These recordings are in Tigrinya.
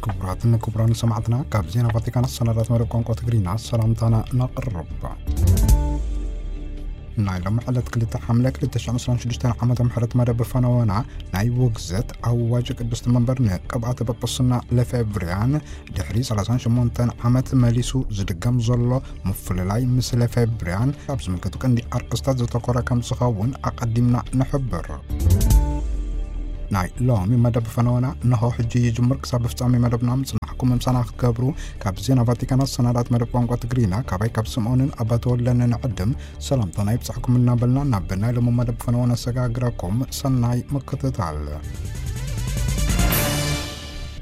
ክቡራትን ክቡራን ሰማዕትና፣ ካብ ዜና ቫቲካን ኣሰናዳት መደብ ቋንቋ ትግርኛ ሰላምታና ነቕርብ። ናይ ሎም ዕለት ክልተ ሓምለ ክልተ ሽሕን ዕስራን ሽዱሽተን ዓመተ ምህረት መደብ ፈነወና ናይ ውግዘት ኣዋጅ ቅድስቲ መንበር ንቅብኣተ ጳጳስና ለፌብርያን ድሕሪ ሰላሳን ሸሞንተን ዓመት መሊሱ ዝድገም ዘሎ ምፍልላይ ምስ ለፌብርያን ኣብ ዝምልከቱ ቀንዲ ኣርእስታት ዘተኮረ ከም ዝኸውን ኣቐዲምና ንሕብር። ናይ ሎሚ መደብ ፈነወና እንሆ ሕጂ ይጅምር። ክሳብ ፍጻሜ መደብና ምጽናሕኩም ምሳና ክትገብሩ ካብ ዜና ቫቲካን ኣሰናዳት መደብ ቋንቋ ትግርኛ ካባይ ካብ ስምኦንን ኣባተወለንን ዕድም ሰላምታና ይብጻሕኩም እናበልና ናብ ናይ ሎሚ መደብ ፈነወና ሰጋግራኩም ሰናይ ምክትታል።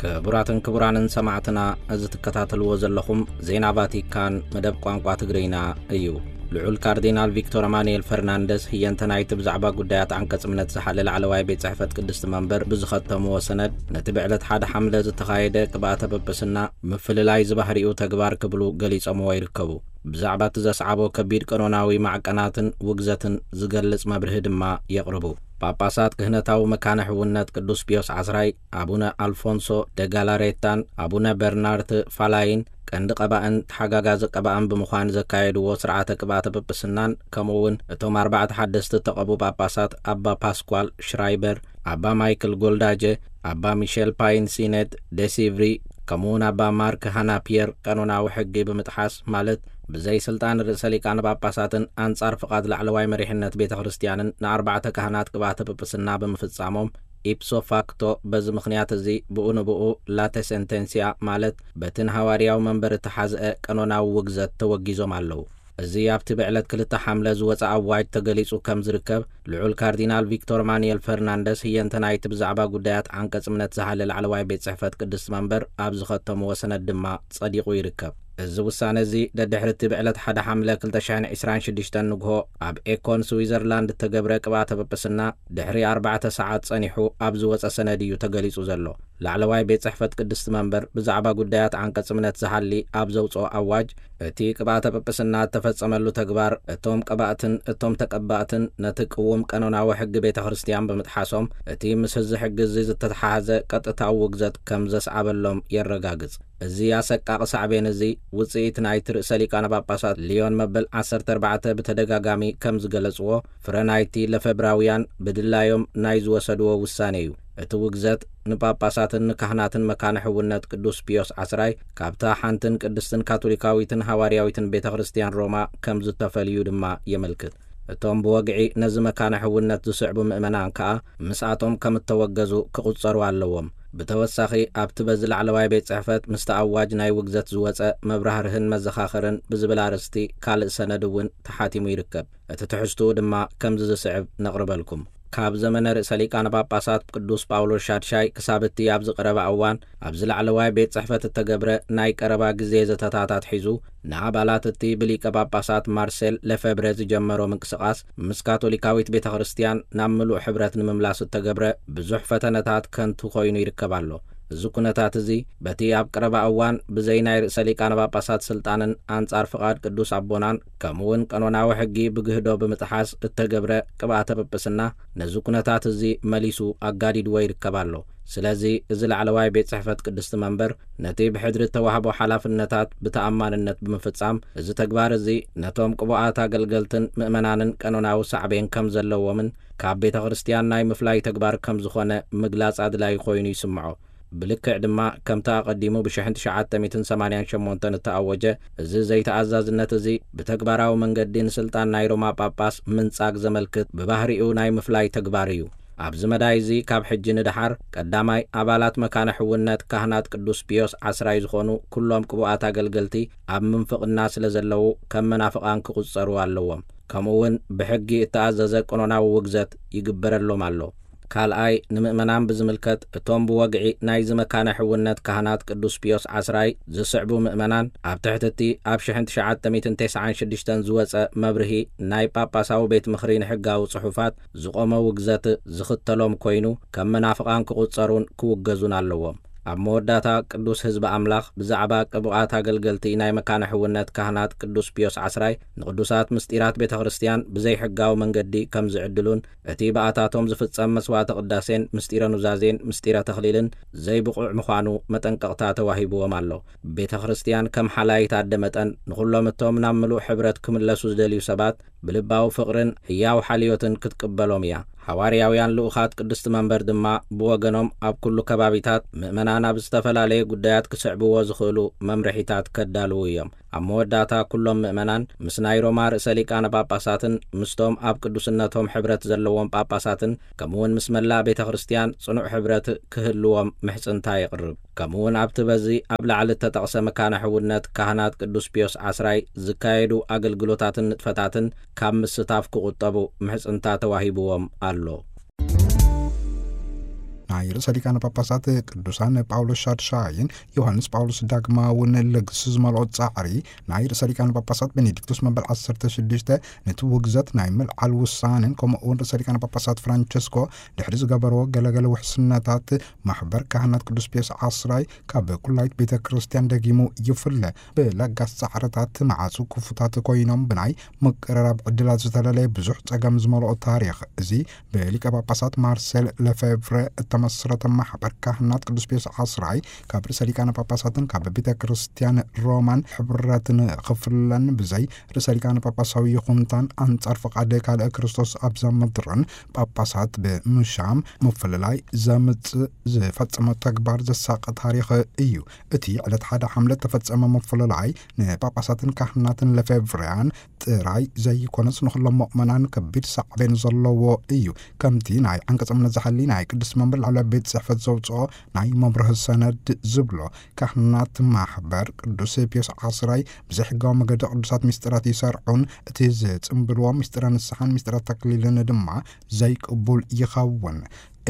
ክቡራትን ክቡራንን ሰማዕትና፣ እዚ ትከታተልዎ ዘለኹም ዜና ቫቲካን መደብ ቋንቋ ትግርኛ እዩ። ልዑል ካርዲናል ቪክቶር ኣማኑኤል ፈርናንደስ ህየንተ ናይቲ ብዛዕባ ጉዳያት ዓንቀጽ እምነት ዝሓለ ላዕለዋይ ቤት ጽሕፈት ቅድስቲ መንበር ብዝኸተምዎ ሰነድ፣ ነቲ ብዕለት ሓደ ሓምለ ዝተኻየደ ቅብኣተ ጵጵስና ምፍልላይ ዝባህሪኡ ተግባር ክብሉ ገሊጾምዎ ይርከቡ። ብዛዕባ እቲ ዘስዓቦ ከቢድ ቀኖናዊ ማዕቀናትን ውግዘትን ዝገልጽ መብርሂ ድማ የቕርቡ። ጳጳሳት ክህነታዊ መካነ ሕውነት ቅዱስ ፒዮስ ዓስራይ፣ ኣቡነ ኣልፎንሶ ደጋላሬታን ኣቡነ በርናርት ፋላይን ቀንዲ ቀባእን ተሓጋጋዚ ቀባእን ብምዃን ዘካየድዎ ስርዓተ ቅብኣተ ጵጵስናን፣ ከምኡ እውን እቶም ኣርባዕተ ሓደስቲ እተቐቡ ጳጳሳት ኣባ ፓስኳል ሽራይበር፣ ኣባ ማይክል ጎልዳጀ፣ ኣባ ሚሼል ፓይን ሲኔት ደሲቭሪ፣ ከምኡ እውን ኣባ ማርክ ሃና ፒየር ቀኖናዊ ሕጊ ብምጥሓስ፣ ማለት ብዘይ ስልጣን ርእሰ ሊቃነ ጳጳሳትን ኣንጻር ፍቓድ ላዕለዋይ መሪሕነት ቤተ ክርስቲያንን ንኣርባዕተ ካህናት ቅብኣተ ጵጵስና ብምፍጻሞም፣ ኢፕሶ ፋክቶ በዚ ምኽንያት እዚ ብኡ ንብኡ ላተ ሴንቴንሲያ፣ ማለት በቲ ንሃዋርያዊ መንበር እተሓዝአ ቀኖናዊ ውግዘት ተወጊዞም ኣለዉ። እዚ ኣብቲ ብዕለት ክልተ ሓምለ ዝወጸ ኣዋጅ ተገሊጹ ከም ዝርከብ ልዑል ካርዲናል ቪክቶር ማኑኤል ፈርናንደስ ህየንተ ናይቲ ብዛዕባ ጉዳያት ዓንቀጽ እምነት ዝሓለ ላዕለዋይ ቤት ጽሕፈት ቅድስቲ መንበር ኣብ ዝኸተምዎ ሰነድ ድማ ጸዲቑ ይርከብ። እዚ ውሳነ እዚ ደድሕሪ እቲ ብዕለት ሓደ ሓምለ ክልተ ሽሕን ዕስራን ሽዱሽተን ንግሆ ኣብ ኤኮን ስዊዘርላንድ እተገብረ ቅብኣተ ጵጵስና ድሕሪ ኣርባዕተ ሰዓት ጸኒሑ ኣብ ዝወጸ ሰነድ እዩ ተገሊጹ ዘሎ። ላዕለዋይ ቤት ጽሕፈት ቅድስቲ መንበር ብዛዕባ ጉዳያት ዓንቀጽ እምነት ዝሓሊ ኣብ ዘውጽኦ ኣዋጅ፣ እቲ ቅብኣተ ጵጵስና እተፈጸመሉ ተግባር እቶም ቀባእትን እቶም ተቀባእትን ነቲ ቅዉም ቀኖናዊ ሕጊ ቤተ ክርስቲያን ብምጥሓሶም፣ እቲ ምስ እዚ ሕጊ እዚ ዝተተሓሓዘ ቀጥታዊ ውግዘት ከም ዘስዓበሎም የረጋግጽ። እዚ ኣሰቃቒ ሳዕቤን እዚ ውጽኢት ናይቲ ርእሰ ሊቃነ ጳጳሳት ሊዮን መበል ዓሰርተ ኣርባዕተ ብተደጋጋሚ ከም ዝገለጽዎ፣ ፍረ ናይቲ ለፈብራውያን ብድላዮም ናይ ዝወሰድዎ ውሳኔ እዩ። እቲ ውግዘት ንጳጳሳትን ንካህናትን መካነ ሕውነት ቅዱስ ፒዮስ ዓስራይ ካብታ ሓንትን ቅድስትን ካቶሊካዊትን ሃዋርያዊትን ቤተ ክርስቲያን ሮማ ከም ዝተፈልዩ ድማ የመልክት። እቶም ብወግዒ ነዚ መካነ ሕውነት ዝስዕቡ ምእመናን ከኣ ምስኣቶም ከም እተወገዙ ክቑጸሩ ኣለዎም። ብተወሳኺ፣ ኣብቲ በዚ ላዕለዋይ ቤት ጽሕፈት ምስቲ ኣዋጅ ናይ ውግዘት ዝወጸ መብራህርህን መዘኻኸርን ብዝብል ኣርእስቲ ካልእ ሰነድ እውን ተሓቲሙ ይርከብ። እቲ ትሕዝትኡ ድማ ከምዚ ዝስዕብ ነቕርበልኩም። ካብ ዘመነ ርእሰ ሊቃነ ጳጳሳት ቅዱስ ጳውሎስ ሻድሻይ ክሳብ እቲ ኣብዚ ቀረባ እዋን ኣብዚ ላዕለዋይ ቤት ጽሕፈት እተገብረ ናይ ቀረባ ግዜ ዘተታት ኣትሒዙ፣ ንኣባላት እቲ ብሊቀ ጳጳሳት ማርሴል ለፌብረ ዝጀመሮ ምንቅስቓስ ምስ ካቶሊካዊት ቤተ ክርስቲያን ናብ ምሉእ ሕብረት ንምምላስ እተገብረ ብዙሕ ፈተነታት ከንቱ ኮይኑ ይርከብ ኣሎ። እዚ ኩነታት እዚ በቲ ኣብ ቀረባ እዋን ብዘይ ናይ ርእሰ ሊቃነ ጳጳሳት ስልጣንን ኣንጻር ፍቓድ ቅዱስ ኣቦናን ከምኡ እውን ቀኖናዊ ሕጊ ብግህዶ ብምጥሓስ እተገብረ ቅብኣተ ጵጵስና ነዚ ኩነታት እዚ መሊሱ ኣጋዲድዎ ይርከብ ኣሎ። ስለዚ እዚ ላዕለዋይ ቤት ጽሕፈት ቅድስቲ መንበር ነቲ ብሕድሪ እተዋህቦ ሓላፍነታት ብተኣማንነት ብምፍጻም፣ እዚ ተግባር እዚ ነቶም ቅቡኣት ኣገልገልትን ምእመናንን ቀኖናዊ ሳዕቤን ከም ዘለዎምን ካብ ቤተ ክርስቲያን ናይ ምፍላይ ተግባር ከም ዝኾነ ምግላጽ ኣድላዪ ኮይኑ ይስምዖ። ብልክዕ ድማ ከምቲ ኣቐዲሙ ብሽሕን ትሽዓተ ሚእትን ሰማንያን ሸሞንተን እተኣወጀ፣ እዚ ዘይተኣዛዝነት እዚ ብተግባራዊ መንገዲ ንስልጣን ናይ ሮማ ጳጳስ ምንጻግ ዘመልክት ብባህሪኡ ናይ ምፍላይ ተግባር እዩ። ኣብዚ መዳይ እዚ ካብ ሕጂ ንደሓር ቀዳማይ ኣባላት መካነ ሕውነት ካህናት ቅዱስ ፒዮስ ዓስራይ ዝኾኑ ኩሎም ቅቡኣት ኣገልገልቲ ኣብ ምንፍቕና ስለ ዘለዉ ከም መናፍቓን ክቑጸሩ ኣለዎም። ከምኡ እውን ብሕጊ እተኣዘዘ ቀኖናዊ ውግዘት ይግበረሎም ኣሎ። ካልኣይ፣ ንምእመናን ብዝምልከት፣ እቶም ብወግዒ ናይዚ መካነ ሕውነት ካህናት ቅዱስ ፒዮስ ዓስራይ ዝስዕቡ ምእመናን፣ ኣብ ትሕቲ እቲ ኣብ ሽሕን ትሽዓተ ሚእትን ተስዓን ሽዱሽተን ዝወጸ መብርሂ ናይ ጳጳሳዊ ቤት ምኽሪ ንሕጋዊ ጽሑፋት ዝቖመ ውግዘት ዝኽተሎም ኮይኑ፣ ከም መናፍቓን ክቑጸሩን ክውገዙን ኣለዎም። ኣብ መወዳእታ ቅዱስ ህዝቢ ኣምላኽ ብዛዕባ ቅቡኣት ኣገልገልቲ ናይ መካነ ሕውነት ካህናት ቅዱስ ፒዮስ ዓስራይ ንቅዱሳት ምስጢራት ቤተ ክርስቲያን ብዘይሕጋዊ መንገዲ ከም ዝዕድሉን እቲ ብኣታቶም ዝፍጸም መስዋዕተ ቅዳሴን ምስጢረ ኑዛዜን ምስጢረ ተኽሊልን ዘይብቑዕ ምዃኑ መጠንቀቕታ ተዋሂብዎም ኣሎ። ቤተ ክርስቲያን ከም ሓላይት ኣደ መጠን ንኹሎም እቶም ናብ ምሉእ ሕብረት ክምለሱ ዝደልዩ ሰባት ብልባዊ ፍቕርን ህያው ሓልዮትን ክትቅበሎም እያ። ሓዋርያውያን ልኡኻት ቅድስቲ መንበር ድማ ብወገኖም ኣብ ኩሉ ከባቢታት ምእመናን ኣብ ዝተፈላለየ ጉዳያት ክስዕብዎ ዝኽእሉ መምርሒታት ከዳልዉ እዮም። ኣብ መወዳእታ ኩሎም ምእመናን ምስ ናይ ሮማ ርእሰ ሊቃነ ጳጳሳትን ምስቶም ኣብ ቅዱስነቶም ሕብረት ዘለዎም ጳጳሳትን ከምኡውን ምስ መላእ ቤተ ክርስቲያን ጽኑዕ ሕብረት ክህልዎም ምሕጽንታ የቕርብ። ከምኡውን ኣብቲ በዚ ኣብ ላዕሊ እተጠቕሰ መካነ ሕውነት ካህናት ቅዱስ ፒዮስ ዓስራይ ዝካየዱ ኣገልግሎታትን ንጥፈታትን ካብ ምስታፍ ክቑጠቡ ምሕጽንታ ተዋሂብዎም ኣሎ። ናይ ርእሰ ሊቃነ ጳጳሳት ቅዱሳን ጳውሎስ ሻድሻይን ዮሃንስ ጳውሎስ ዳግማውን ልግሲ ዝመልኦ ጻዕሪ ናይ ርእሰ ሊቃነ ጳጳሳት ቤኔዲክቶስ መበል ዓሰርተ ሽዱሽተ ነቲ ውግዘት ናይ ምልዓል ውሳኔን ከምኡ እውን ርእሰ ሊቃነ ጳጳሳት ፍራንቸስኮ ድሕሪ ዝገበርዎ ገለገለ ውሕስነታት ማሕበር ካህናት ቅዱስ ፒዮስ ዓስራይ ካብ ኩላይት ቤተ ክርስቲያን ደጊሙ ይፍለ። ብለጋስ ጻዕርታት መዓጹ ክፉታት ኮይኖም ብናይ ምቅርራብ ዕድላት ዝተለለየ ብዙሕ ጸገም ዝመልኦ ታሪኽ እዚ ብሊቀ ጳጳሳት ማርሴል ለፌቭረ እተመስረተ ማሕበር ካህናት ቅዱስ ፒዮስ ዓስራይ ካብ ርእሰ ሊቃነ ጳጳሳትን ካብ ቤተ ክርስቲያን ሮማን ሕብረትን ክፍለን ብዘይ ርእሰ ሊቃነ ጳጳሳዊ ይኹንታን ኣንጻር ፍቓድ ካልእ ክርስቶስ ኣብዛ ምድርን ጳጳሳት ብምሻም ምፍልላይ ዘምጽእ ዝፈጸመ ተግባር ዘሳቐ ታሪኽ እዩ። እቲ ዕለት ሓደ ሓምለ እተፈጸመ ምፍልላይ ንጳጳሳትን ካህናትን ለፌቭርያን ጥራይ ዘይኮነስ ንኹሎም ምእመናን ከቢድ ሳዕቤን ዘለዎ እዩ። ከምቲ ናይ ዓንቀጸ እምነት ዝሓሊ ናይ ቅድስቲ መንበር ላዕለዋይ ቤት ጽሕፈት ዘውጽኦ ናይ መብርሂ ሰነድ ዝብሎ፣ ካህናት ማሕበር ቅዱስ ፒዮስ ዓስራይ ብዘይሕጋዊ መገዲ ቅዱሳት ምስጢራት ይሰርዑን እቲ ዝጽምብልዎ ምስጢረ ንስሓን ምስጢረ ተክሊልን ድማ ዘይቅቡል ይኸውን።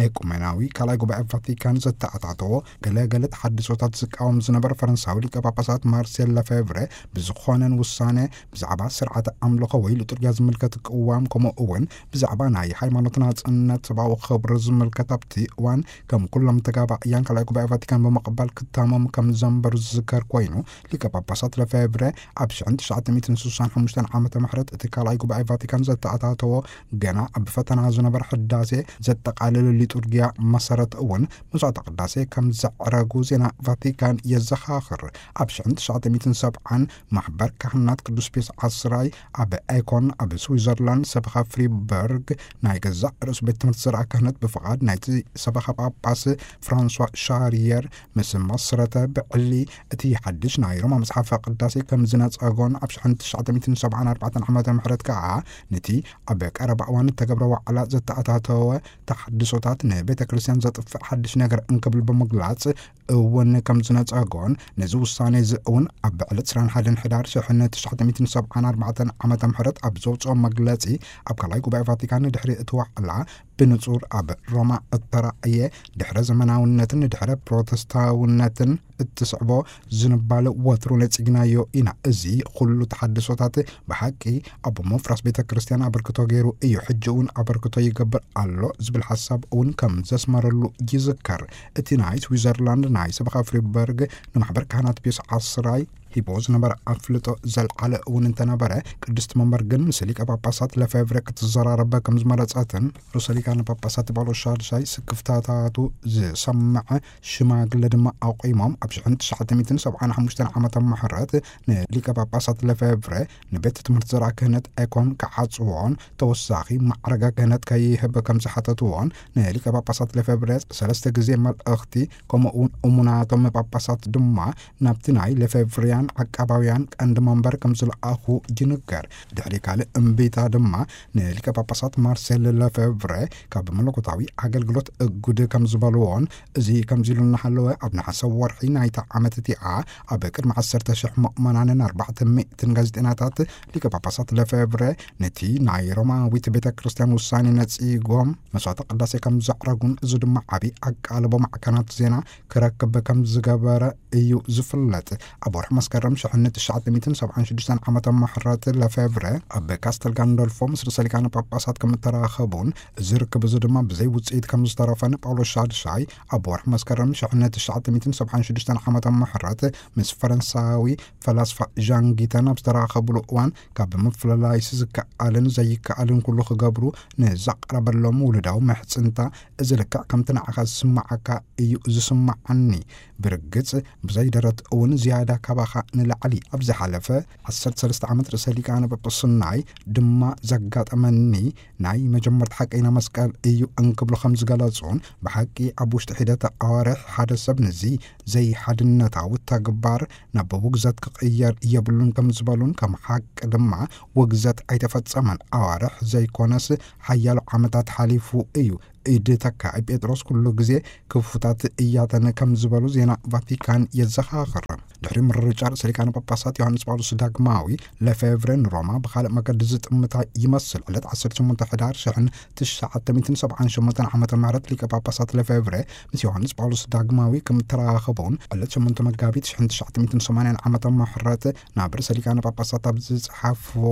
ኤኩሜናዊ ካልኣይ ጉባኤ ቫቲካን ዘተኣታተዎ ገለ ገለ ተሓድሶታት ዝቃወም ዝነበረ ፈረንሳዊ ሊቀ ጳጳሳት ማርሴል ለፌቭረ ብዝኾነን ውሳነ ብዛዕባ ስርዓተ ኣምልኾ ወይ ሊጡርጊያ ዝምልከት ቅዋም ከምኡ እውን ብዛዕባ ናይ ሃይማኖት ናጽነት ሰብኣዊ ክብሪ ዝምልከት ኣብቲ እዋን ከም ኩሎም ተጋባእያን ካልኣይ ጉባኤ ቫቲካን ብምቕባል ክታሞም ከም ዘንበሩ ዝዝከር ኮይኑ ሊቀ ጳጳሳት ለፌቭረ ኣብ ሽሕን ትሽዓተ ሚእትን ስሳን ሓሙሽተን ዓመተ ምሕረት እቲ ካልኣይ ጉባኤ ቫቲካን ዘተኣታተዎ ገና ኣብ ፈተና ዝነበረ ሕዳሴ ዘጠቓልል ሊጡርጊያ መሰረት እውን መስዋዕተ ቅዳሴ ከም ዘዕረጉ ዜና ቫቲካን የዘኻኽር። ኣብ ሽሕን ትሽዓተ ሚእትን ሰብዓን ማሕበር ካህናት ቅዱስ ፒዮስ ዓስራይ ኣብ ኤኮን ኣብ ስዊዘርላንድ ሰበኻ ፍሪበርግ ናይ ገዛእ ርእሱ ቤት ትምህርቲ ዘርኣ ክህነት ብፍቓድ ናይቲ ሰበኻ ጳጳስ ፍራንሷ ሻርየር ምስ መስረተ ብዕሊ እቲ ሓድሽ ናይ ሮማ መጽሓፈ ቅዳሴ ከም ዝነጸጎን ኣብ ሽሕን ትሽዓተ ሚእትን ሰብዓን ኣርባዕተን ዓመተ ምሕረት ከኣ ነቲ ኣብ ቀረባ እዋን እተገብረ ዋዕላ ዘተኣታተወ ተሓድሶታት ንቤተ ክርስቲያን ዘጥፍእ ሓድሽ ነገር እንክብል ብምግላጽ እውን ከም ዝነጸጎን ነዚ ውሳኔ እዚ እውን ኣብ ዕለት ዕስራን ሓደን ሕዳር ሽሕን ትሽዓተ ሚእትን ሰብዓን ኣርባዕተን ዓመተ ምሕረት ኣብ ዘውጽኦ መግለጺ ኣብ ካልኣይ ጉባኤ ቫቲካን ድሕሪ እቲ ዋዕላ ብንጹር ኣብ ሮማ እተራእየ ድሕረ ዘመናውነትን ድሕረ ፕሮተስታውነትን እትስዕቦ ዝንባለ ወትሩ ነጺግናዮ ኢና። እዚ ኩሉ ተሓድሶታት ብሓቂ ኣብ ምፍራስ ቤተ ክርስቲያን ኣበርክቶ ገይሩ እዩ። ሕጂ እውን ኣበርክቶ ይገብር ኣሎ ዝብል ሓሳብ እውን ከም ዘስመረሉ ይዝከር። እቲ ናይ ስዊዘርላንድ ናይ ሰበኻ ፍሪበርግ ንማሕበር ካህናት ፒዮስ ዓስራይ ሂቦ ዝነበረ ኣፍልጦ ዘልዓለ እውን እንተነበረ፣ ቅድስቲ መንበር ግን ምስ ሊቀ ጳጳሳት ለፌቭረ ክትዘራረበ ከም ዝመረጸትን ርእሰ ሊቃነ ጳጳሳት ጳውሎስ ሻድሻይ ስክፍታታቱ ዝሰምዐ ሽማግለ ድማ ኣቑሞም ኣብ ሽሕን ትሽዓተ ሚእትን ሰብዓን ሓሙሽተን ዓመተ ምሕረት ንሊቀ ጳጳሳት ለፌቭረ ንቤት ትምህርቲ ዘርኣ ክህነት ኤኮን ክዓጽዎን ተወሳኺ ማዕረገ ክህነት ከይህብ ከም ዝሓተትዎን ንሊቀ ጳጳሳት ለፌቭረ ሰለስተ ግዜ መልእኽቲ ከምኡ እውን እሙናቶም ጳጳሳት ድማ ናብቲ ናይ ለፌቭርያን ዓቃባውያን ቀንዲ መንበር ከም ዝለኣኹ ይንገር። ድሕሪ ካልእ እምቢታ ድማ ንሊቀ ጳጳሳት ማርሴል ለፌቭረ ካብ መለኮታዊ ኣገልግሎት እጉድ ከም ዝበልዎን እዚ ከምዚ ኢሉ እናሃለወ ኣብ ነሓሰ ወርሒ ናይታ ዓመት እቲኣ ኣብ ቅድሚ ዓሰርተ ሽሕ ምእመናንን ኣርባዕተ ሚእትን ጋዜጠኛታት ሊቀ ጳጳሳት ለፌቭረ ነቲ ናይ ሮማዊት ቤተ ክርስቲያን ውሳኔ ነጺጎም መስዋዕተ ቅዳሴ ከም ዘዕረጉን እዚ ድማ ዓብዪ ኣቃልቦ ማዕከናት ዜና ክረክብ ከም ዝገበረ እዩ ዝፍለጥ። ኣብ ወርሒ መስከረም ሽሕን ትሽዓተ ሚእትን ሰብዓን ሽዱሽተን ዓመተ ምሕረት ለፌብረ ኣብ ካስተል ጋንዶልፎ ምስ ርእሰ ሊቃነ ጳጳሳት ከም እተራኸቡን፣ እዚ ርክብ እዚ ድማ ብዘይ ውጽኢት ከም ዝተረፈን ጳውሎስ ሻድሻይ ኣብ ወርሒ መስከረም ሽሕን ትሽዓተ ሚእትን ሰብዓን ሽዱሽተን ዓመተ ምሕረት ምስ ፈረንሳዊ ፈላስፋ ዣን ጊተን ኣብ ዝተራኸብሉ እዋን፣ ካብ ምፍልላይስ ዝከኣልን ዘይከኣልን ኩሉ ክገብሩ ንዘቕረበሎም ውሉዳዊ ምሕጽንታ፣ እዚ ልክዕ ከምቲ ንዓኻ ዝስምዓካ እዩ ዝስምዓኒ። ብርግጽ፣ ብዘይ ደረት እውን ዝያዳ ካባኻ ንላዕሊ። ኣብ ዝሓለፈ ዓሰርተ ሰለስተ ዓመት ርእሰ ሊቃነ ጳጳስናይ ድማ ዘጋጠመኒ ናይ መጀመርታ ሓቀይና መስቀል እዩ እንክብሉ ከም ዝገለጹን፣ ብሓቂ ኣብ ውሽጢ ሒደት ኣዋርሕ ሓደ ሰብ ነዚ ዘይሓድነታዊ ተግባር ናብ ውግዘት ክቕየር የብሉን ከም ዝበሉን፣ ከም ሓቂ ድማ ውግዘት ኣይተፈጸመን። ኣዋርሕ ዘይኮነስ ሓያሎ ዓመታት ሓሊፉ እዩ። ኢድ ተካኢ ጴጥሮስ ኩሉ ግዜ ክፉታት እያተን ከም ዝበሉ ዜና ቫቲካን የዘኻኽር። ድሕሪ ምርጫ ርእሰ ሊቃነ ጳጳሳት ዮሃንስ ጳውሎስ ዳግማዊ፣ ለፌቭረ ንሮማ ብኻልእ መገዲ ዝጥምታ ይመስል። ዕለት ዓሰርተ ሸሞንተ ሕዳር ሽሕን ትሽዓተ ሚእትን ሰብዓን ሸሞንተን ዓመተ ምህረት ሊቀ ጳጳሳት ለፌቭረ ምስ ዮሃንስ ጳውሎስ ዳግማዊ ከም እተራኸቡን፣ ዕለት ሸሞንተ መጋቢት ሽሕን ትሽዓተ ሚእትን ሰማንያን ዓመተ ምህረት ናብ ርእሰ ሊቃነ ጳጳሳት ኣብ ዝጸሓፍዎ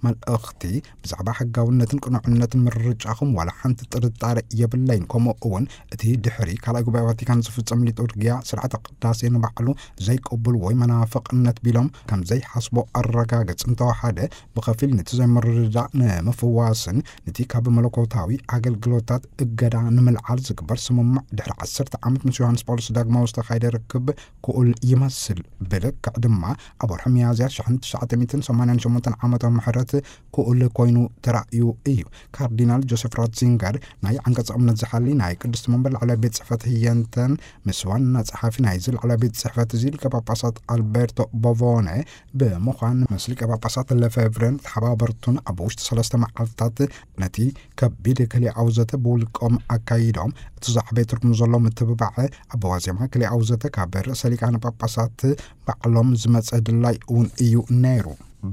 መልእኽቲ፣ ብዛዕባ ሕጋውነትን ቅኑዕነትን ምርጫኹም ዋላ ሓንቲ ጥርጣረ የብለይን። ከምኡ እውን እቲ ድሕሪ ካልኣይ ጉባኤ ቫቲካን ዝፍጸም ሊጡርጊያ ስርዓተ ቅዳሴ ንባዕሉ ዘይቅቡል ወይ መናፍቕነት ቢሎም ከም ዘይሓስቦ ኣረጋግጽ። እንተወሓደ ብኸፊል ነቲ ዘይምርድዳእ ንምፍዋስን ነቲ ካብ መለኮታዊ ኣገልግሎታት እገዳ ንምልዓል ዝግበር ስምምዕ ድሕሪ ዓሰርተ ዓመት ምስ ዮሃንስ ጳውሎስ ዳግማዊ ዝተኻየደ ርክብ ክኡል ይመስል። ብልክዕ ድማ ኣብ ወርሒ ሚያዝያ ሽሕን ትሽዓተ ሚእትን ሰማንያን ሸሞንተን ዓመተ ምሕረት ክኡል ኮይኑ ተራእዩ እዩ። ካርዲናል ጆሴፍ ራትዚንገር ናይ ዓንቀጽ እምነት ዝሓሊ ናይ ቅድስቲ መንበር ላዕላይ ቤት ጽሕፈት ህየንተን ምስ ዋና ጸሓፊ ናይዚ ላዕላይ ቤት ጽሕፈት እዚ ሊቀ ጳጳሳት ኣልቤርቶ ቦቮነ ብምዃን ምስ ሊቀ ጳጳሳት ለፌቭረን ተሓባበርቱን ኣብ ውሽጢ ሰለስተ መዓልታት ነቲ ከቢድ ክልኤኣዊ ዘተ ብውልቆም ኣካይዶም። እቲ ዝዓበየ ትርጉም ዘለዎ ምትብባዕ ኣብ ዋዜማ ክልኤኣዊ ዘተ ካብ ርእሰ ሊቃነ ጳጳሳት ባዕሎም ዝመጸ ድላይ እውን እዩ ነይሩ።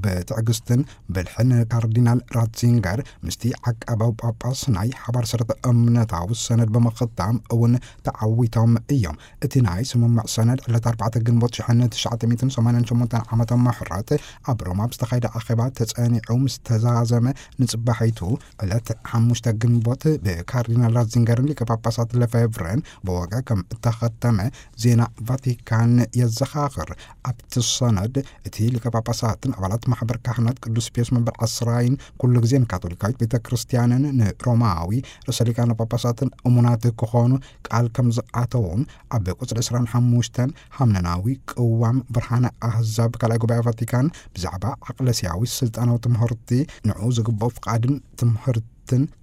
ብትዕግስትን ብልሕን ካርዲናል ራትዚንገር ምስቲ ዓቃባዊ ጳጳስ ናይ ሓባር ሰረተ እምነታዊ ሰነድ ብምኽታም እውን ተዓዊቶም እዮም። እቲ ናይ ስምምዕ ሰነድ ዕለት ኣርባዕተ ግንቦት ሽሕን ትሽዓተ ሚእትን ሰማንያን ሸሞንተን ዓመተ ምሕረት ኣብ ሮማ ብዝተኻየደ ኣኼባ ተጸኒዑ ምስ ተዛዘመ፣ ንጽባሒቱ ዕለት ሓሙሽተ ግንቦት ብካርዲናል ራትዚንገርን ሊቀ ጳጳሳት ለፌቭረን ብወግዒ ከም እተኸተመ ዜና ቫቲካን የዘኻኽር። ኣብቲ ሰነድ እቲ ሊቀ ጳጳሳትን ኣባላት ማሕበር ካህናት ቅዱስ ፒዮስ መንበር ዓስራይን ኩሉ ግዜ ንካቶሊካዊት ቤተ ክርስቲያንን ንሮማዊ ርእሰ ሊቃነ ጳጳሳትን እሙናት ክኾኑ ቃል ከም ዝኣተዉን፣ ኣብ ቁጽሪ ዕስራን ሓሙሽተን ሃምነናዊ ቅዋም ብርሃነ ኣህዛብ ካልኣይ ጉባኤ ቫቲካን ብዛዕባ ዓቅለስያዊ ስልጣናዊ ትምህርቲ፣ ንዑ ዝግብኦ ፍቓድን ትምህርትን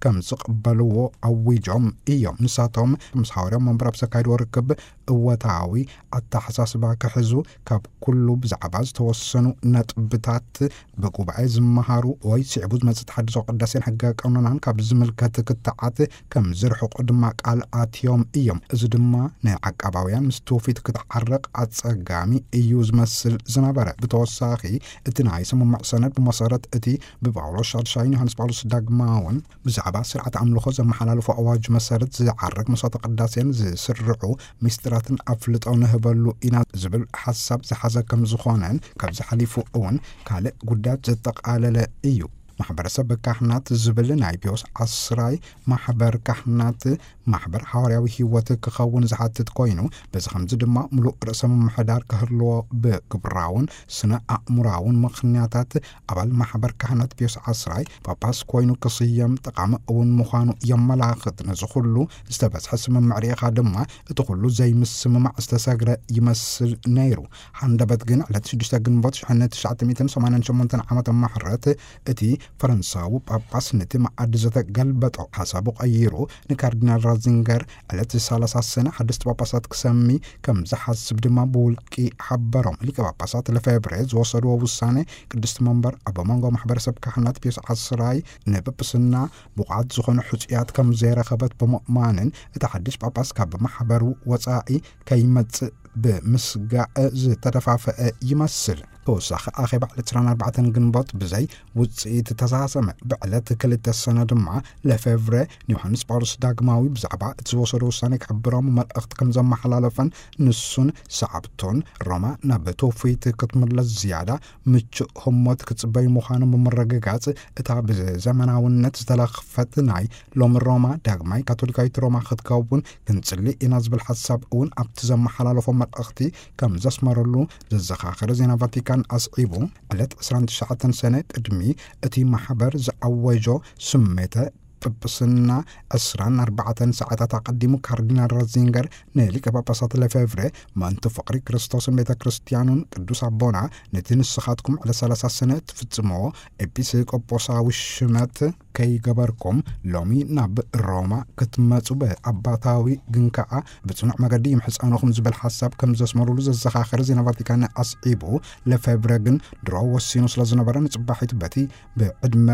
ከም ዝቕበልዎ ኣዊጆም እዮም። ንሳቶም ምስ ሃዋርያዊ መንበር ኣብ ዘካየድዎ ርክብ እወታዊ ኣተሓሳስባ ክሕዙ፣ ካብ ኩሉ ብዛዕባ ዝተወሰኑ ነጥብታት ብጉባኤ ዝመሃሩ ወይ ስዕቡ ዝመጽእ ተሓድሶ ቅዳሴን ሕገ ቀኖናን ካብ ዝምልከት ክትዓት ከም ዝርሕቁ ድማ ቃል ኣትዮም እዮም። እዚ ድማ ንዓቃባውያን ምስ ትውፊት ክትዓረቕ ኣጸጋሚ እዩ ዝመስል ዝነበረ። ብተወሳኺ፣ እቲ ናይ ስምምዕ ሰነድ ብመሰረት እቲ ብጳውሎስ ሻድሻይን ዮሃንስ ጳውሎስ ዳግማውን ብዛዕባ ስርዓት ኣምልኾ ዘመሓላለፎ ኣዋጅ መሰረት ዝዓርግ መስዋዕተ ቅዳሴን ዝስርዑ ምስጢራትን ኣፍልጦ ንህበሉ ኢና ዝብል ሓሳብ ዝሓዘ ከም ዝኾነን፣ ካብዚ ሓሊፉ እውን ካልእ ጉዳያት ዘጠቓለለ እዩ። ማሕበረሰብ ካህናት ዝብል ናይ ፒዮስ ዓስራይ ማሕበር ካህናት ማሕበር ሓዋርያዊ ህይወት ክኸውን ዝሓትት ኮይኑ፣ በዚ ከምዚ ድማ ምሉእ ርእሰ ምምሕዳር ክህልዎ፣ ብግብራውን ስነ ኣእምራውን ምኽንያታት ኣባል ማሕበር ካህናት ፒዮስ ዓስራይ ጳጳስ ኮይኑ ክስየም ጠቓሚ እውን ምዃኑ የመላኽት። ነዚ ኩሉ ዝተበጽሐ ስምምዕ ርኢኻ ድማ፣ እቲ ኩሉ ዘይምስምማዕ ዝተሰግረ ይመስል ነይሩ። ሃንደበት ግን፣ ዕለት ሽዱሽተ ግንቦት ሽሕን ትሽዓተ ሚእትን ሰማንያን ሸሞንተን ዓመተ ምሕረት፣ እቲ ፈረንሳዊ ጳጳስ ነቲ መኣዲ ዘተ ገልበጦ። ሓሳቡ ቀይሩ፣ ንካርዲናል ራዚንገር ዕለት ሰላሳ ሰነ ሓደስቲ ጳጳሳት ክሰሚ ከም ዝሓስብ ድማ ብውልቂ ሓበሮም። ሊቀ ጳጳሳት ለፌብሬ ዝወሰድዎ ውሳኔ፣ ቅድስቲ መንበር ኣብ መንጎ ማሕበረሰብ ካህናት ፒዮስ ዓስራይ ንጵጵስና ብቑዓት ዝኾኑ ሕጹያት ከም ዘይረኸበት ብምእማንን፣ እቲ ሓድሽ ጳጳስ ካብ ማሕበሩ ወጻኢ ከይመጽእ ብምስጋእ ዝተደፋፈአ ይመስል። ተወሳኺ ኣኼባ ዕለት ዕስራን ኣርባዕተን ግንቦት ብዘይ ውፅኢት ተዛዘመ። ብዕለት ክልተ ሰነ ድማ ለፌቭረ ንዮሃንስ ጳውሎስ ዳግማዊ ብዛዕባ እቲ ዝወሰዶ ውሳኔ ክሕብሮም መልእኽቲ ከም ዘመሓላለፈን ንሱን ሰዓብቱን ሮማ ናብ ትውፊት ክትምለስ ዝያዳ ምቹእ ህሞት ክጽበዩ ምዃኖም ብምርግጋጽ፣ እታ ብዘመናውነት ዝተለኽፈት ናይ ሎሚ ሮማ ዳግማይ ካቶሊካዊት ሮማ ክትከውን ክንጽሊ ኢና ዝብል ሓሳብ እውን ኣብቲ ዘመሓላለፎ መልእኽቲ ከም ዘስመረሉ ዘዘኻኸረ ዜና ቫቲካን ኣስዒቡ፣ ዕለት ዕስራን ትሽዓተን ሰነ ቅድሚ እቲ ማሕበር ዝኣወጆ ስሜተ ጵጵስና ዕስራን ኣርባዕተን ሰዓታት ኣቐዲሙ ካርዲናል ራዚንገር ንሊቀ ጳጳሳት ለፌቭረ ምእንቲ ፍቕሪ ክርስቶስን ቤተ ክርስቲያኑን ቅዱስ ኣቦና ነቲ ንስኻትኩም ዕለት ሰላሳ ሰነ ትፍጽምዎ ኤጲስቆጶሳዊ ሽመት ከይገበርኩም ሎሚ ናብ ሮማ ክትመጹ ብኣባታዊ ግን ከኣ ብጽኑዕ መገዲ ይምሕጸነኹም ዝብል ሓሳብ ከም ዘስመሩሉ ዘዘኻኸረ ዜና ቫቲካን ኣስዒቡ፣ ለፌቭረ ግን ድሮ ወሲኑ ስለ ዝነበረ ንጽባሒቱ በቲ ብዕድመ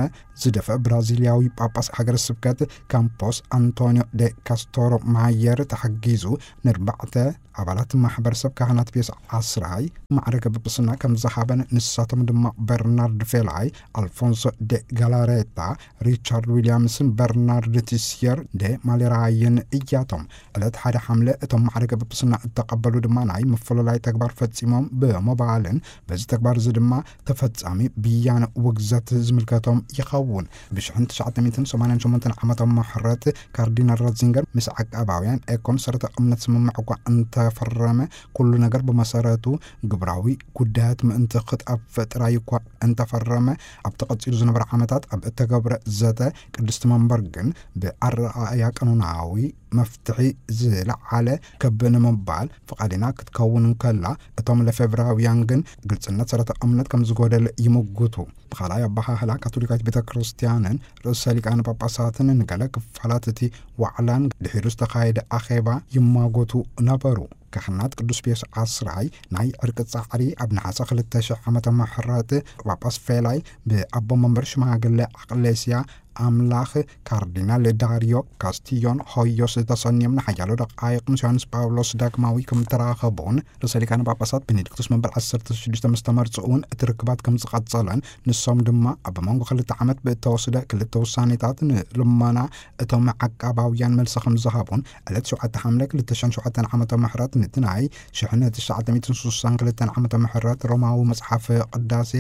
ዝደፍአ ብራዚልያዊ ጳጳስ ሃገረ ስብከት ካምፖስ ኣንቶኒዮ ደ ካስቶሮ ማየር ተሓጊዙ ንርባዕተ ኣባላት ማሕበረሰብ ካህናት ፒዮስ ዓስራይ ማዕረገ ጵጵስና ከም ዝሃበን ንሳቶም ድማ በርናርድ ፌላይ፣ ኣልፎንሶ ደ ጋላሬታ፣ ሪቻርድ ዊልያምስን በርናርድ ቲስየር ደ ማሌራይን እያቶም። ዕለት ሓደ ሓምለ እቶም ማዕረገ ጵጵስና እተቐበሉ ድማ ናይ ምፍልላይ ተግባር ፈጺሞም ብምባልን በዚ ተግባር እዚ ድማ ተፈጻሚ ብያነ ውግዘት ዝምልከቶም ይኸውን። ብሽሕን ትሽዓተ ሚእትን ሰማንያን ሸሞንተን ዓመተ ምሕረት ካርዲናል ራትዚንገር ምስ ዓቃባውያን ኤኮን ሰረተ እምነት ስምምዕ እኳ እንተፈረመ፣ ኩሉ ነገር ብመሰረቱ ግብራዊ ጉዳያት ምእንቲ ክጠፍእ ጥራይ እኳ እንተፈረመ፣ ኣብቲ ቀጺሉ ዝነበረ ዓመታት ኣብ እተገብረ ዘተ ቅድስቲ መንበር ግን ብኣረኣእያ ቀኖናዊ መፍትሒ ዝለዓለ ክብ ንምባል ፍቓድና ክትከውን እንከላ፣ እቶም ለፌብራውያን ግን ግልጽነት ሰረተ እምነት ከም ዝጎደለ ይምጉቱ። ብኻልኣይ ኣበሃህላ፣ ካቶሊካዊት ቤተ ክርስቲያንን ርእሰ ሊቃነ ጳጳሳትን ንገለ ክፋላት እቲ ዋዕላን ድሒሩ ዝተኻየደ ኣኼባ ይማጎቱ ነበሩ። ካህናት ቅዱስ ፒዮስ ዓስራይ ናይ ዕርቂ ጻዕሪ ኣብ ነሓሰ ክልተ ሽሕ ዓመተ ምሕረት ጳጳስ ፌላይ ብኣቦ መንበር ሽማግለ ኣቅሌስያ ኣምላኽ ካርዲናል ዳርዮ ካስቲዮን ሆዮስ ተሰንዮም ንሓያሎ ደቃይቕ ምስ ዮሃንስ ጳውሎስ ዳግማዊ ከም ተራኸቡን ርእሰ ሊቃነ ጳጳሳት ቤኔዲክቶስ መበል ዓሰርተ ሽዱሽተ ምስ ተመርጽኡ እውን እቲ ርክባት ከም ዝቐጸለን ንሶም ድማ ኣብ መንጎ ክልተ ዓመት ብእተወስደ ክልተ ውሳኔታት ንልመና እቶም ዓቃባውያን መልሲ ከም ዝሃቡን ዕለት ሸውዓተ ሓምለ ክልተ ሽሕን ሸውዓተን ዓመተ ምሕረት ነቲ ናይ ሽሕን ትሽዓተ ሚእትን ስሳን ክልተን ዓመተ ምሕረት ሮማዊ መጽሓፍ ቅዳሴ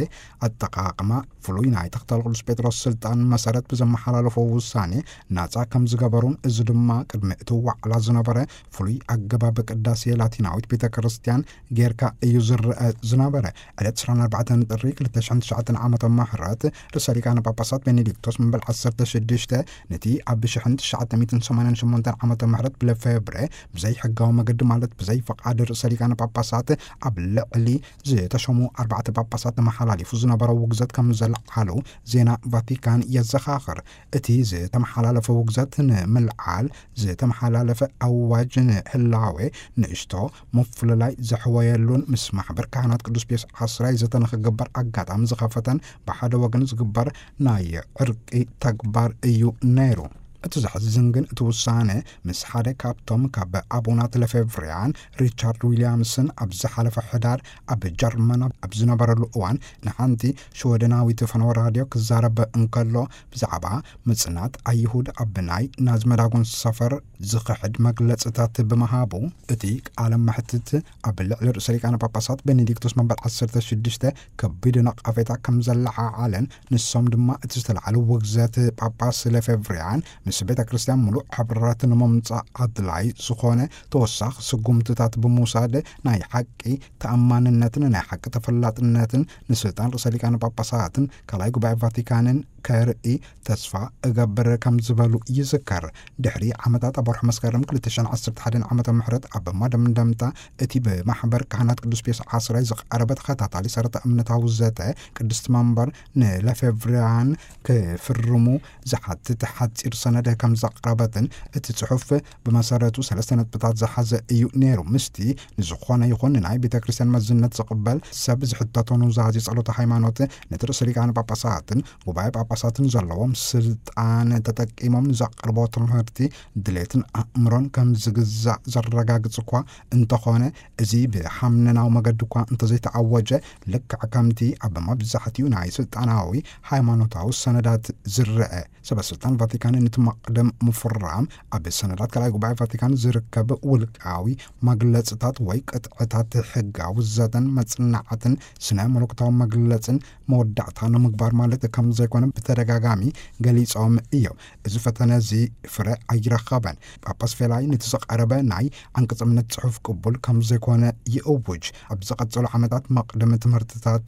ኣጠቓቕማ ፍሉይ ናይ ተኽተል ቅዱስ ጴጥሮስ ስልጣን መሰረት ብዘመሓላለፎ ውሳኔ ናጻ ከም ዝገበሩን፣ እዚ ድማ ቅድሚ እቲ ዋዕላ ዝነበረ ፍሉይ ኣገባብ ቅዳሴ ላቲናዊት ቤተ ክርስቲያን ጌርካ እዩ ዝረአ ዝነበረ። ዕለት ዕስራን ኣርባዕተን ጥሪ ክልተ ሽሕን ትሽዓተን ዓመተ ምሕረት ርእሰ ሊቃነ ጳጳሳት ቤኔዲክቶስ መበል ዓሰርተ ሽዱሽተ ነቲ ኣብ ሽሕን ትሽዓተ ሚእትን ሰማንያን ሸሞንተን ዓመተ ምሕረት ብለፌብረ ብዘይ ሕጋዊ መገዲ ማለት ብዘይ ፈቓድ ርእሰ ሊቃነ ጳጳሳት ኣብ ልዕሊ ዝተሸሙ ኣርባዕተ ጳጳሳት ተመሓላሊፉ ዝነበረ ውግዘት ከም ዘለዓሉ ዜና ቫቲካን የዘኻኽር። እቲ ዝተመሓላለፈ ውግዘት ንምልዓል ዝተመሓላለፈ ኣዋጅ ንህላዌ ንእሽቶ ምፍልላይ ዘሕወየሉን ምስ ማሕበር ካህናት ቅዱስ ፒዮስ ዓስራይ ዘተ ንኽግበር ኣጋጣሚ ዝኸፈተን ብሓደ ወገን ዝግበር ናይ ዕርቂ ተግባር እዩ ነይሩ። እቲ ዘሕዝን ግን እቲ ውሳነ ምስ ሓደ ካብቶም ካብ ኣቡናት ለፌብርያን ሪቻርድ ዊልያምስን ኣብ ዝሓለፈ ሕዳር ኣብ ጀርመን ኣብ ዝነበረሉ እዋን ንሓንቲ ሽወደናዊት ፈነወ ራድዮ ክዛረብ እንከሎ ብዛዕባ ምጽናት ኣይሁድ ኣብ ናይ ናዚ መዳጎን ሰፈር ዝኽሕድ መግለጽታት ብምሃቡ፣ እቲ ቃለ መሕትት ኣብ ልዕሊ ርእሰ ሊቃነ ጳጳሳት ቤኔዲክቶስ መበል ዓሰርተ ሽዱሽተ ከቢድ ነቐፌታ ከም ዘለዓዓለን፣ ንሶም ድማ እቲ ዝተላዕለ ውግዘት ጳጳስ ለፌብርያን ምስ ቤተ ክርስቲያን ምሉእ ሕብረት ንምምጻእ ኣድላይ ዝኾነ ተወሳኺ ስጉምትታት ብምውሳድ ናይ ሓቂ ተኣማንነትን ናይ ሓቂ ተፈላጥነትን ንስልጣን ርእሰ ሊቃነ ጳጳሳትን ካልኣይ ጉባኤ ቫቲካንን ከርኢ ተስፋ እገብር ከም ዝበሉ ይዝከር። ድሕሪ ዓመታት ኣብ ወርሒ መስከረም ክልተ ሽሕን ዓሰርተ ሓደን ዓመተ ምሕረት ኣብ መደምደምታ እቲ ብማሕበር ካህናት ቅዱስ ፒዮስ ዓስራይ ዝቐረበ ተኸታታሊ ሰረተ እምነታዊ ዘተ ቅድስቲ መንበር ንለፌብርያን ክፍርሙ ዝሓትት ሓጺር ሰነድ መፍትሒ ከም ዘቕረበትን፣ እቲ ጽሑፍ ብመሰረቱ ሰለስተ ነጥብታት ዝሓዘ እዩ ነይሩ። ምስቲ ንዝኾነ ይኹን ናይ ቤተ ክርስቲያን መዝነት ዝቕበል ሰብ ዝሕተቶ ኑዛዜ ጸሎተ ሃይማኖት፣ ነቲ ርእሰ ሊቃነ ጳጳሳትን ጉባኤ ጳጳሳትን ዘለዎም ስልጣን ተጠቂሞም ንዘቕርቦ ትምህርቲ ድሌትን ኣእምሮን ከም ዝግዛእ ዘረጋግጽ እኳ እንተኾነ፣ እዚ ብሓምነናዊ መገዲ እኳ እንተዘይተኣወጀ፣ ልክዕ ከምቲ ኣብ መብዛሕትኡ ናይ ስልጣናዊ ሃይማኖታዊ ሰነዳት ዝረአ፣ ሰበ ስልጣን ቫቲካን ነቲ መቕድም ምፍራም ኣብ ሰነዳት ካልኣይ ጉባኤ ቫቲካን ዝርከብ ውልቃዊ መግለጽታት ወይ ቅጥዕታት ሕጋዊ ዘተን መጽናዕትን ስነ መለኮታዊ መግለጽን መወዳእታ ንምግባር ማለት ከም ዘይኮነ ብተደጋጋሚ ገሊጾም እዮም። እዚ ፈተነ እዚ ፍረ ኣይረኸበን። ጳጳስ ፌላይ ነቲ ዝቐረበ ናይ ዓንቀጽ እምነት ጽሑፍ ቅቡል ከም ዘይኮነ ይእውጅ። ኣብ ዝቐጸሉ ዓመታት መቕድም ትምህርትታት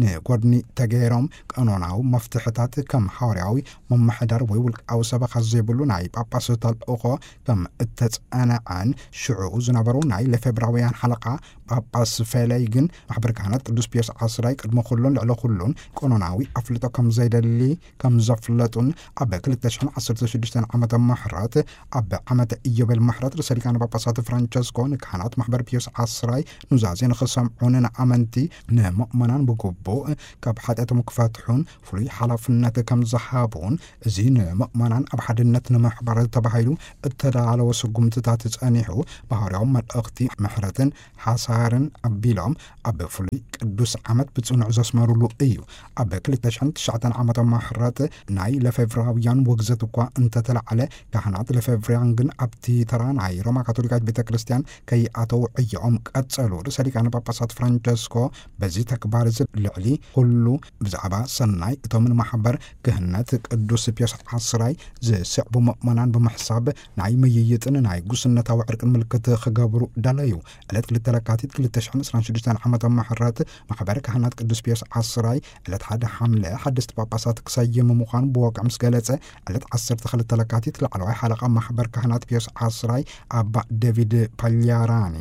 ንጎድኒ ተገይሮም፣ ቀኖናዊ መፍትሕታት ከም ሓዋርያዊ ምምሕዳር ወይ ውልቃዊ ሰበኻ ዘይብሉ ናይ ጳጳስ ተልእኾ ከም እተጸንዐን፣ ሽዑ ዝነበሩ ናይ ለፌብራውያን ሓለቓ ጳጳስ ፌለይ ግን ማሕበር ካህናት ቅዱስ ፒዮስ ዓስራይ ቅድሚ ኩሉን ልዕሊ ኩሉን ቀኖናዊ ኣፍልጦ ከም ዘይደሊ ከም ዘፍለጡን፣ ኣብ ክልተ ሽሕን ዓሰርተ ሽዱሽተን ዓመተ ምሕረት ኣብ ዓመተ ኢዮቤል ምሕረት ርእሰ ሊቃነ ጳጳሳት ፍራንቸስኮ ንካህናት ማሕበር ፒዮስ ዓስራይ ኑዛዜ ንኽሰምዑን ንኣመንቲ ንምእመናን ብግቡእ ካብ ሓጢኣቶም ክፈትሑን ፍሉይ ሓላፍነት ከም ዝሃቡን፣ እዚ ንምእመናን ኣብ ሓድነት ንምሕባር ተባሂሉ እተዳለወ ስጉምትታት ጸኒሑ፣ ባህርያዊ መልእኽቲ ምሕረትን ሓሳርን ኣቢሎም ኣብ ፍሉይ ቅዱስ ዓመት ብጽኑዕ ዘስመሩሉ እዩ። ኣብ ክልተ ሽሕን ትሽዓተን ዓመተ ምሕረት ናይ ለፌብራውያን ውግዘት እኳ እንተተላዕለ፣ ካህናት ለፌብራውያን ግን ኣብቲ ተራ ናይ ሮማ ካቶሊካዊት ቤተ ክርስቲያን ከይኣተው ዕዮኦም ቀጸሉ። ርእሰ ሊቃነ ጳጳሳት ፍራንቸስኮ በዚ ተግባር እዚ ልዕሊ ኩሉ ብዛዕባ ሰናይ እቶም ንማሕበር ክህነት ቅዱስ ፒዮስ ዓስራይ ዝስዕቡ ምእመናን ብምሕሳብ ናይ ምይይጥን ናይ ጉስነታዊ ዕርቅን ምልክት ክገብሩ ደለዩ። ዕለት ክልተ ለካቲት ክልተ ሽሕን ዕስራን ሽዱሽተን ዓመተ ምሕረት ማሕበር ካህናት ቅዱስ ፒዮስ ዓስራይ ዕለት ሓደ ሓምለ ሓደስቲ ጳጳሳት ክሰይም ምዃኑ ብወግዒ ምስ ገለጸ፣ ዕለት ዓሰርተ ክልተ ለካቲት ላዕለዋይ ሓለቓ ማሕበር ካህናት ፒዮስ ዓስራይ ኣባ ዴቪድ ፓልያራኒ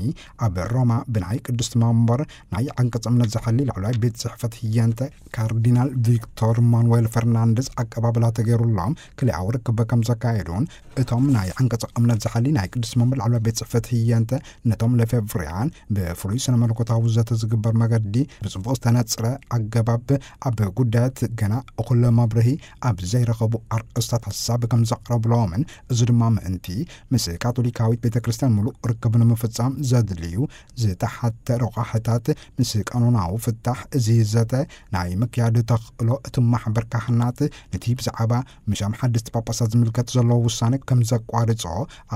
ኣብ ሮማ ብናይ ቅድስቲ መንበር ናይ ዓንቀጽ እምነት ዝሓሊ ላዕለዋይ ቤት ጽሕፈት ህየንተ ካርዲናል ቪክቶር ማኑዌል ፈርናንደዝ ኣቀባብላ ተገይሩሎም ክልኣዊ ርክብ ከም ዘካየዱን፣ እቶም ናይ ዓንቀጽ እምነት ዝሓሊ ናይ ቅድስቲ መንበር ላዕለዋይ ቤት ጽሕፈት ህየንተ ነቶም ለፌብርያን ብፍሉይ ስነ መለኮታዊ ዘተ ዝግበር መገዲ ብጽቡቕ ዝተነጽረ ኣገባብ ኣብ ጉዳያት ገና እኹል መብርሂ ኣብ ዘይረኸቡ ኣርእስታት ሓሳብ ከም ዘቕረብሎምን፣ እዚ ድማ ምእንቲ ምስ ካቶሊካዊት ቤተ ክርስቲያን ምሉእ ርክብ ንምፍጻም ዘድልዩ ዝተሓተ ረቋሕታት ምስ ቀኖናዊ ፍታሕ እዚ ዘተ ናይ ምክያድ ተኽእሎ እቲ ማሕበር ካህናት ነቲ ብዛዕባ ምሻም ሓደስቲ ጳጳሳት ዝምልከት ዘሎ ውሳነ ከም ዘቋርጾ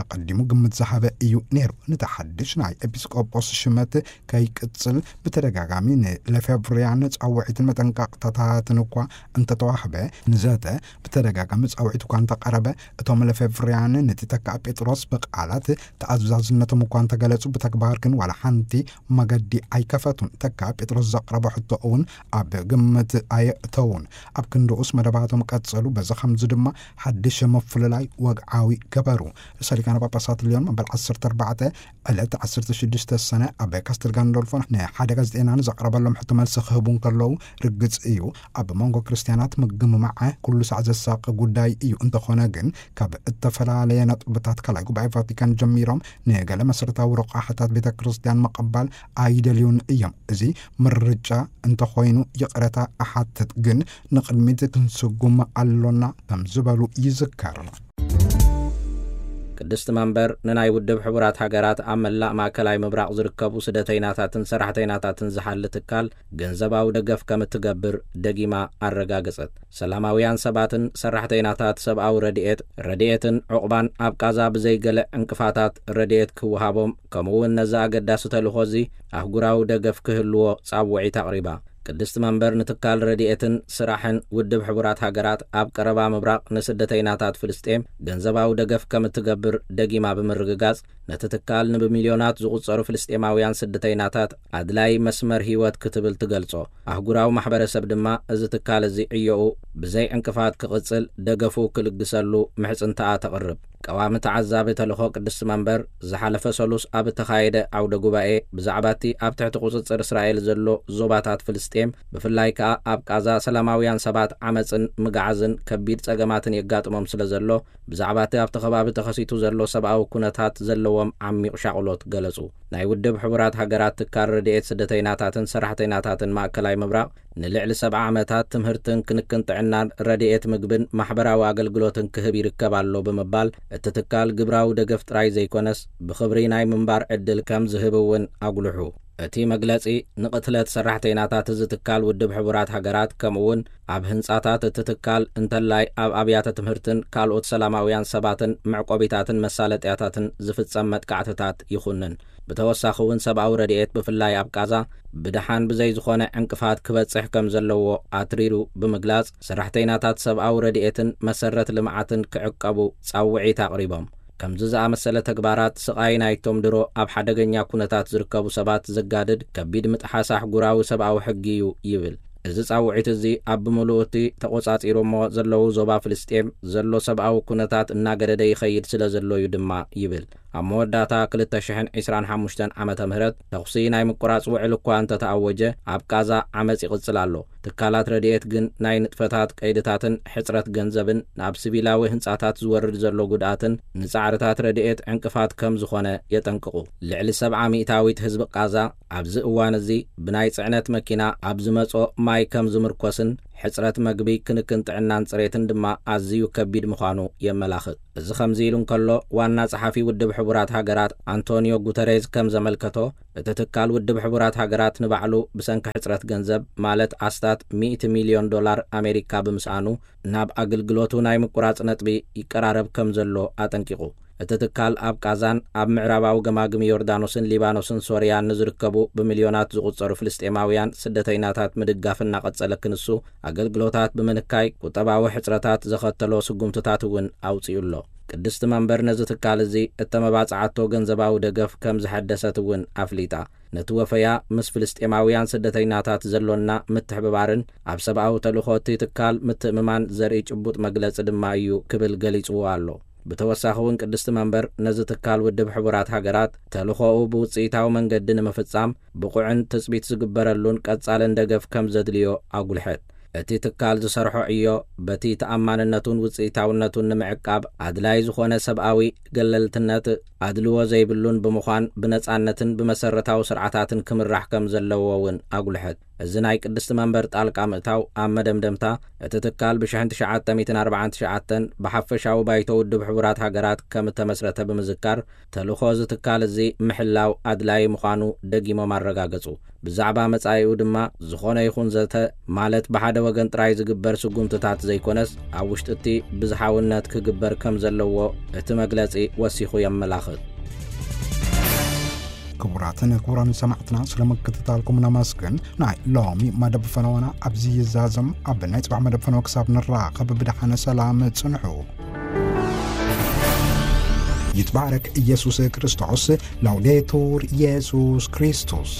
ኣቐዲሙ ግምት ዝሃበ እዩ ነይሩ። ነቲ ሓድሽ ናይ ኤጲስቆጶስ ሽመት ከይቅጽል ብተደጋጋሚ ንለፌብርያን ጻውዒትን መጠንቀቕታታትን እኳ እንተተዋህበ፣ ንዘተ ብተደጋጋሚ ጻውዒት እኳ እንተቐረበ፣ እቶም ለፌብርያን ነቲ ተካእ ጴጥሮስ ብቃላት ተኣዛዝነቶም እኳ እንተገለጹ፣ ብተግባር ግን ዋላ ሓንቲ መገዲ ኣይከፈቱን። ተካእ ጴጥሮስ ዘቕረቦ ሕቶ እውን ኣብ ግምት ኣየእተውን። ኣብ ክንድኡስ መደባቶም ቀጸሉ። በዚ ከምዚ ድማ ሓድሽ ምፍልላይ ወግዓዊ ገበሩ። ርእሰ ሊቃነ ጳጳሳት ልዮን መበል ዓሰርተ ኣርባዕተ ዕለት ዓሰርተ ሽዱሽተ ሰነ ኣብ ካስተል ጋንዶልፎ ንሓደ ጋዜጠኛ ንዘቕረበሎም ሕቶ መልሲ ክህቡ እንከለዉ፣ ርግጽ እዩ፣ ኣብ መንጎ ክርስትያናት ምግምማዕ ኩሉ ሳዕ ዘሳቂ ጉዳይ እዩ። እንተኾነ ግን፣ ካብ እተፈላለየ ነጥብታት ካልኣይ ጉባኤ ቫቲካን ጀሚሮም ንገለ መሰረታዊ ረቋሕታት ቤተ ክርስቲያን ምቕባል ኣይደልዩን እዮም። እዚ ምርጫ እንተኾይኑ ይቕረታ እሓትት፣ ግን ንቕድሚት ክንስጉም ኣሎና ከም ዝበሉ ይዝከር። ቅድስቲ መንበር ንናይ ውድብ ሕቡራት ሃገራት ኣብ መላእ ማእከላይ ምብራቕ ዝርከቡ ስደተይናታትን ሰራሕተይናታትን ዝሓሊ ትካል ገንዘባዊ ደገፍ ከም እትገብር ደጊማ ኣረጋገጸት። ሰላማውያን ሰባትን ሰራሕተይናታት ሰብኣዊ ረድኤት፣ ረድኤትን ዕቑባን ኣብ ቃዛ ብዘይገለ ዕንቅፋታት ረድኤት ክወሃቦም፣ ከምኡውን ነዚ ኣገዳሲ ተልእኾ እዚ ኣህጉራዊ ደገፍ ክህልዎ ጻውዒት ኣቕሪባ። ቅድስቲ መንበር ንትካል ረድኤትን ስራሕን ውድብ ሕቡራት ሃገራት ኣብ ቀረባ ምብራቕ ንስደተይናታት ፍልስጤም ገንዘባዊ ደገፍ ከም እትገብር ደጊማ ብምርግጋጽ፣ ነቲ ትካል ንብሚልዮናት ዝቑጸሩ ፍልስጤማውያን ስደተይናታት ኣድላይ መስመር ህይወት ክትብል ትገልጾ። ኣህጉራዊ ማሕበረሰብ ድማ እዚ ትካል እዚ ዕዮኡ ብዘይ ዕንቅፋት ክቕጽል ደገፉ ክልግሰሉ ምሕጽንታኣ ተቕርብ። ቀዋሚ ተዓዛቢ ተልእኾ ቅድስቲ መንበር ዝሓለፈ ሰሉስ ኣብ እተኻየደ ዓውደ ጉባኤ ብዛዕባ እቲ ኣብ ትሕቲ ቁጽጽር እስራኤል ዘሎ ዞባታት ፍልስጤም፣ ብፍላይ ከኣ ኣብ ቃዛ ሰላማውያን ሰባት ዓመጽን ምግዓዝን ከቢድ ጸገማትን የጋጥሞም ስለ ዘሎ፣ ብዛዕባ እቲ ኣብቲ ከባቢ ተኸሲቱ ዘሎ ሰብኣዊ ኩነታት ዘለዎም ዓሚቕ ሻቕሎት ገለጹ። ናይ ውድብ ሕቡራት ሃገራት ትካል ረድኤት ስደተይናታትን ሰራሕተይናታትን ማእከላይ ምብራቕ ንልዕሊ ሰብዓ ዓመታት ትምህርትን ክንክን ጥዕናን ረድኤት ምግብን ማሕበራዊ ኣገልግሎትን ክህብ ይርከብ ኣሎ ብምባል፣ እቲ ትካል ግብራዊ ደገፍ ጥራይ ዘይኮነስ ብኽብሪ ናይ ምንባር ዕድል ከም ዝህብ እውን ኣጉልሑ። እቲ መግለጺ ንቕትለት ሰራሕተይናታት እዚ ትካል ውድብ ሕቡራት ሃገራት ከምኡ እውን ኣብ ህንጻታት እቲ ትካል እንተላይ ኣብ ኣብያተ ትምህርትን ካልኦት ሰላማውያን ሰባትን መዕቆቢታትን መሳለጥያታትን ዝፍጸም መጥቃዕትታት ይኹንን። ብተወሳኺ እውን ሰብኣዊ ረድኤት ብፍላይ ኣብ ቃዛ ብደሓን ብዘይ ዝኾነ ዕንቅፋት ክበጽሕ ከም ዘለዎ ኣትሪሩ ብምግላጽ፣ ሰራሕተይናታት ሰብኣዊ ረድኤትን መሰረት ልምዓትን ክዕቀቡ ጻውዒት ኣቕሪቦም። ከምዚ ዝኣመሰለ ተግባራት ስቓይ ናይቶም ድሮ ኣብ ሓደገኛ ኩነታት ዝርከቡ ሰባት ዘጋድድ ከቢድ ምጥሓስ ኣህጉራዊ ሰብኣዊ ሕጊ እዩ ይብል። እዚ ጻውዒት እዚ ኣብ ብምሉኡ እቲ ተቖጻጺሮሞ ዘለዉ ዞባ ፍልስጤም ዘሎ ሰብኣዊ ኩነታት እናገደደ ይኸይድ ስለ ዘሎ እዩ ድማ ይብል። ኣብ መወዳእታ ክልተ ሽሕን ዕስራን ሓሙሽተን ዓመተ ምህረት ተኹሲ ናይ ምቁራጽ ውዕል እኳ እንተተኣወጀ፣ ኣብ ቃዛ ዓመጽ ይቕጽል ኣሎ። ትካላት ረድኤት ግን ናይ ንጥፈታት ቀይድታትን ሕጽረት ገንዘብን ናብ ሲቪላዊ ህንጻታት ዝወርድ ዘሎ ጉድኣትን ንጻዕርታት ረድኤት ዕንቅፋት ከም ዝኾነ የጠንቅቑ። ልዕሊ ሰብዓ ሚእታዊት ህዝቢ ቃዛ ኣብዚ እዋን እዚ ብናይ ጽዕነት መኪና ኣብ ዝመጾ ማይ ከም ዝምርኮስን ሕጽረት መግቢ፣ ክንክን ጥዕናን ጽሬትን ድማ ኣዝዩ ከቢድ ምዃኑ የመላኽት። እዚ ከምዚ ኢሉ እንከሎ፣ ዋና ጸሓፊ ውድብ ሕቡራት ሃገራት ኣንቶኒዮ ጉተሬዝ ከም ዘመልከቶ፣ እቲ ትካል ውድብ ሕቡራት ሃገራት ንባዕሉ ብሰንኪ ሕጽረት ገንዘብ፣ ማለት ኣስታት ሚእቲ ሚልዮን ዶላር ኣሜሪካ ብምስኣኑ፣ ናብ ኣገልግሎቱ ናይ ምቁራጽ ነጥቢ ይቀራረብ ከም ዘሎ ኣጠንቂቑ። እቲ ትካል ኣብ ቃዛን ኣብ ምዕራባዊ ገማግም ዮርዳኖስን ሊባኖስን ሶርያን ንዝርከቡ ብሚልዮናት ዝቑጸሩ ፍልስጤማውያን ስደተይናታት ምድጋፍ እናቐጸለ ክንሱ፣ ኣገልግሎታት ብምንካይ ቁጠባዊ ሕጽረታት ዘኸተሎ ስጉምትታት እውን ኣውጺኡ ኣሎ። ቅድስቲ መንበር ነዚ ትካል እዚ እተመባጽዓቶ ገንዘባዊ ደገፍ ከም ዝሐደሰት እውን ኣፍሊጣ። ነቲ ወፈያ ምስ ፍልስጤማውያን ስደተይናታት ዘሎና ምትሕብባርን ኣብ ሰብኣዊ ተልእኾ እቲ ትካል ምትእምማን ዘርኢ ጭቡጥ መግለጺ ድማ እዩ ክብል ገሊጽዎ ኣሎ። ብተወሳኺ እውን ቅድስቲ መንበር ነዚ ትካል ውድብ ሕቡራት ሃገራት ተልእኾኡ ብውጽኢታዊ መንገዲ ንምፍጻም ብቑዕን ትጽቢት ዝግበረሉን ቀጻልን ደገፍ ከም ዘድልዮ ኣጉልሐት። እቲ ትካል ዝሰርሖ ዕዮ በቲ ተኣማንነቱን ውጽኢታውነቱን ንምዕቃብ ኣድላይ ዝኾነ ሰብኣዊ ገለልትነት፣ ኣድልዎ ዘይብሉን ብምዃን ብነጻነትን ብመሰረታዊ ስርዓታትን ክምራሕ ከም ዘለዎ እውን ኣጉልሐት። እዚ ናይ ቅድስቲ መንበር ጣልቃ ምእታው ኣብ መደምደምታ እቲ ትካል ብሽሕን ትሽዓተ ሚእትን ኣርባዓን ትሽዓተን ብሓፈሻዊ ባይቶ ውድብ ሕቡራት ሃገራት ከም እተመስረተ ብምዝካር፣ ተልእኾ እዚ ትካል እዚ ምሕላው ኣድላዪ ምዃኑ ደጊሞም ኣረጋገጹ። ብዛዕባ መጻኢኡ ድማ ዝኾነ ይኹን ዘተ፣ ማለት ብሓደ ወገን ጥራይ ዝግበር ስጉምትታት ዘይኮነስ፣ ኣብ ውሽጢ እቲ ብዝሓውነት ክግበር ከም ዘለዎ እቲ መግለጺ ወሲኹ የመላኽት። ክቡራትን ክቡራን ሰማዕትና፣ ስለ ምክትታልኩም ነመስግን። ናይ ሎሚ መደብ ፈነወና ኣብዚ ይዛዘም። ኣብ ናይ ጽባሕ መደብ ፈነወ ክሳብ ንራኸብ ብደሓነ ሰላም ጽንሑ። ይትባረክ ኢየሱስ ክርስቶስ። ላውዴቱር ኢየሱስ ክርስቶስ።